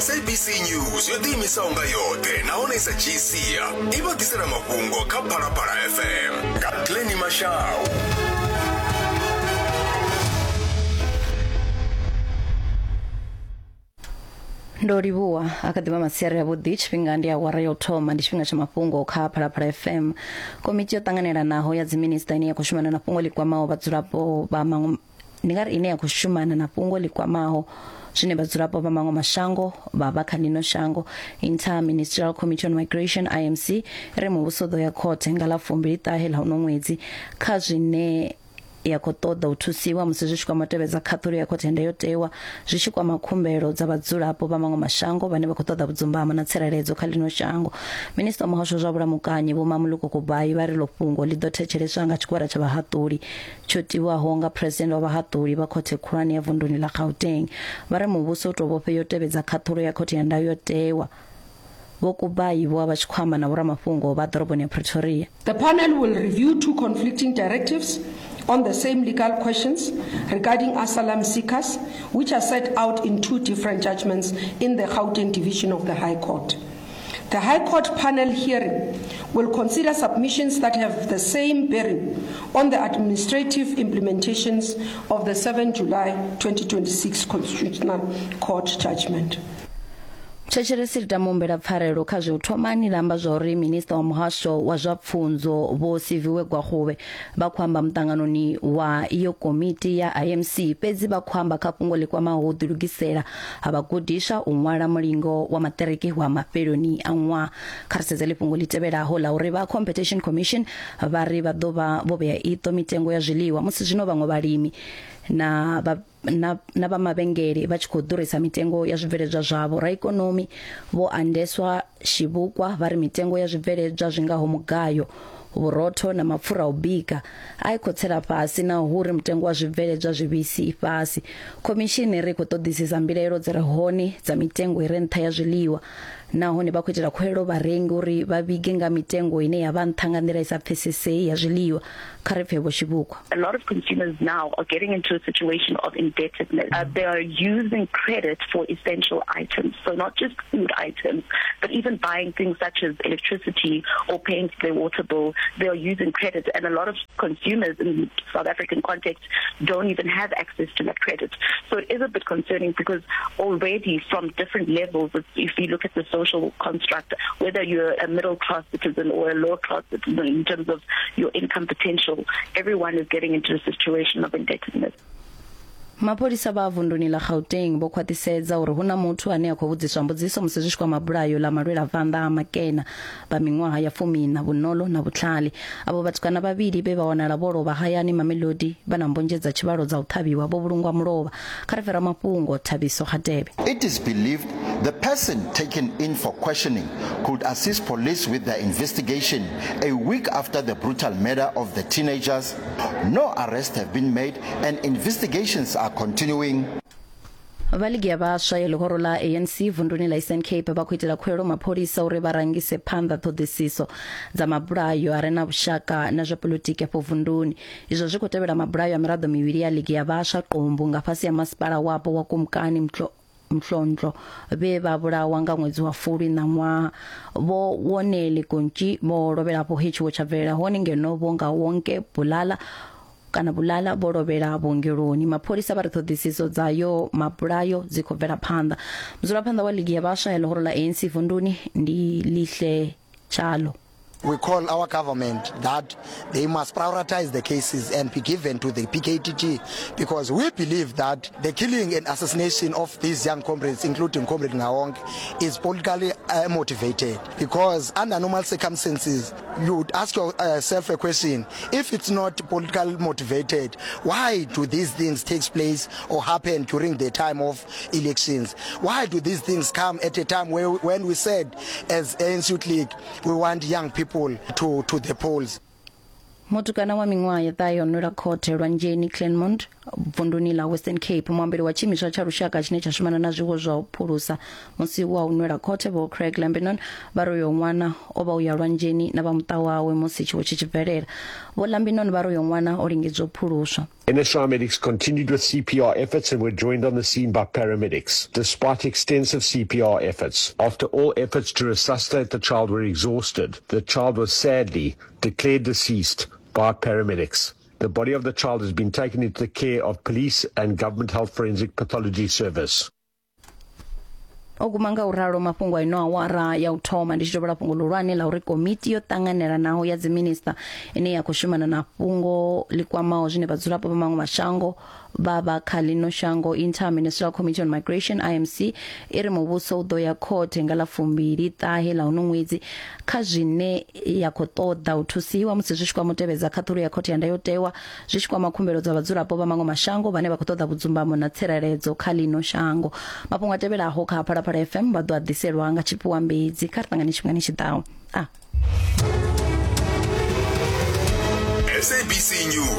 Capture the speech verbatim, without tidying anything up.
S A B C News yo ḓiimisaho nga yoṱhe nahone i sa dzhii sia i vha ḓisela mafhungo kha Phalaphala F M nga Glenny Mashau. Ndo livhuwa. A kha ḓivha masiari avhuḓi. Tshifhinga ndi awara ya u thoma, ndi tshifhinga tsha mafhungo kha Phalaphala F M. Komiti yo ṱanganelanaho ya dziminista ine ya khou shumana na fhungo ḽi kwamaho vhadzulapo vha maṅwe, ndi nga ri ine ya khou shumana na fhungo ḽi kwamaho zwine vhadzulapo vha maṅwe mashango vha vha kha ḽino shango, Inter-Ministerial Committee on Migration, I M C, ri muvhuso ḓo ya khothe nga ḽa fumbili ṱahe ḽa uno ṅwedzi kha zwine ya khou ṱoḓa u thusiwa musi zwi tshi kwama tevhedza khaṱhulo ya khothe ya ndayotewa zwi tshi kwama khumbelo dza vhadzulapo vha maṅwe mashango vhane vha khou ṱoḓa vhudzumbamo na tsireledzo kha ḽino shango. Minista wa muhasho zwa vhulamukanyi Vho Mmamoloko Kubayi vha ri ḽo fhungo ḽi ḓo thetsheleswa nga tshigwada tsha vhahaṱuli tsho tiwaho nga president wa vhahaṱuli vha khothe khulwane ya vunduni ḽa Gauteng. Vha ri muvhuso u tou vhofhea u tevhedza khaṱhulo ya khothe ya ndayotewa. Vho Kubayi vho vha vha tshi khou amba na vhoramafhungo vha ḓoroboni ya Pretoria. The panel will review two conflicting directives on the same legal questions regarding asylum seekers, which are set out in two different judgments in the Gauteng Division of the High Court. The High Court panel hearing will consider submissions that have the same bearing on the administrative implementations of the seventh July twenty twenty-six Constitutional Court judgment. Thetshelesi ri tama humbela pfarelo kha zwe u thomani ḽa amba zwa uri minista wa muhasho wa zwa pfunzo Vho Siviwe Gwarube vha khou amba muṱanganoni wa iyo komiti ya I M C, fhedzi vha khou amba kha fhungo ḽi kwamaho u ḓilugisela ha vhagudiswa u ṅwala mulingo wa maṱiriki wa mafheloni a ṅwaha. Kha ri sedze ḽi fhungo ḽi tevhelaho ḽa uri vha Competition Commission vha ri vha ḓo vha vho vhea iṱo mitengo ya zwiḽiwa musi zwino vhaṅwe vhalimi na vha na, na vha mavhengele vha tshi khou ḓurisa mitengo ya zwibveledzwa zwavho. Raikonomi Vho Andeswa Shivhukwa vha ri mitengo ya zwibveledzwa zwi ngaho mugayo, vhurotho na mapfura a u bika a i khou tsela fhasi na uri mutengo wa zwibveledzwa zwivhisi i fhasi. Khomishini ri khou ṱoḓisisa mbilaelo dzi re hone dza mitengo i re nṱha ya zwiḽiwa, nahone vha khou itela khuwelelo vharengi uri vha vhige nga mitengo ine ya vha nṱha nga nḓila i sa pfesesei ya zwiḽiwa. Kha ri pfe Vho Shivhukwa. A lot of consumers now are getting into a situation of indebtedness. Uh, they are using credit for essential items, so not just food items, but even buying things such as electricity or paying for their water bill. They are using credit, and a lot of consumers in the South African context don't even have access to that credit. So it is a bit concerning because already from different levels, if you look at the social construct, whether you're a middle class citizen or a lower class citizen in terms of your income potential, everyone is getting into a situation of indebtedness. Mapholisa vha vunduni ḽa Gauteng vho khwaṱhisedza uri hu na muthu ane a khou vhudziswa mbudziso musi zwi tshi kwama bulayo ḽa malwelavanḓa a Makena vha miṅwaha ya fumiiṋa, Vhunolo na Vhutlhali. Avho vhatukana vhavhili vhe vha wanala vho lovha hayani Mamelodi vha na mbonzhe dza tshivhalo dza u ṱhavhiwa vho vhulungwa mulovha. Kha ri fhera mafhungo Thabiso Hadebe. It is believed the person taken in for questioning could assist police with their investigation a week after the brutal murder of the teenagers. No arrests have been made and investigations are continuing. Vha ligi ya vhaswa ya ḽihoro ḽa A N C vunduni ḽa Eastern Cape vha khou itela khuwelelo mapholisa uri vha rangise phanḓa ṱhoḓisiso dza mabulayo a re na vhushaka na zwa polotiki afho vunduni. Izwo zwi khou tevhela mabulayo a miraḓo mivhili ya ligi ya vhaswa Qumbu nga fhasi ya masipala wapo wa Kumkani Mhlo Mhlontlo vhe vha vhulawa nga ṅwedzi wa Fulwi ṋaṅwaha. Vho Wonele Gontshi vho lovhela afho he tshiwo tsha bvelela hone, ngeno vho nga Wonke Bulala kana Bulala vho lovhela vhuongeloni. Mapholisa vha ri ṱhoḓisiso dzayo mabulayo dzi khou bvela phanḓa. Mudzulaphanḓa wa ligi ya vhaswa ya ḽihoro ḽa A N C vunduni ndi Lihle Tshalo. We call our government that they must prioritize the cases and be given to the P K T T, because we believe that the killing and assassination of these young comrades, including Comrade Ngawong, is politically uh, motivated. Because under normal circumstances, you would ask yourself a question: if it's not politically motivated, why do these things take place or happen during the time of elections? Why do these things come at a time where, when we said as A N C Youth League, we want young people to, to the polls? Mutukana wa miṅwaha ya ṱahe o nwela khothe lwanzheni Claremont. vunduni ḽa Western Cape. Muambeli wa tshiimiswa tsha lushaka tshine tsha shumana na zwiwo zwa u phulusa musi wa u nwela khothe Vho Craig Lambinon vha ri uyo ṅwana o vha u ya lwanzheni na vha muṱa wawe musi tshiwo tshi tshi bvelela. Vho Lambinon vha ri uyo ṅwana o lingedzwa u phuluswa. N S R medics continued with C P R efforts and were joined on the scene by paramedics. Despite extensive C P R efforts, after all efforts to resuscitate the child were exhausted, the child was sadly declared deceased by paramedics. The body of the child has been taken into the care of police and Government Health Forensic Pathology Service. O guma nga u ralo mafhungo ino awara ya u thoma ndi tshi tovhela fhungo ḽihulwane ḽa uri komiti yo ṱanganelanaho ya dziminista ine ya khou shumana na fhungo ḽi kwamaho zwine vhadzulapo vha maṅwe mashango vha vha kha ḽino shango Inter-Ministerial Committee on Migration I M C i ri muvhuso u ḓo ya khothe nga ḽa fumbili ṱahe ḽa uno ṅwedzi kha zwine ya khou ṱoḓa u thusiwa musi zwi tshi kwama u tevhedza khaṱhulo ya khothe ya ndayotewa zwi tshi kwama khumbelo dza vhadzulapo vha maṅwe mashango vhane vha khou ṱoḓa vhudzumbamo na tsireledzo kha ḽino shango. Mafhungo a tevhelaho kha Phalaphala F M vha ḓo a ḓiselwa nga tshifhiwa mbedzi kha ri ṱangane tshifhingani tshi ḓaho. A S A B C News.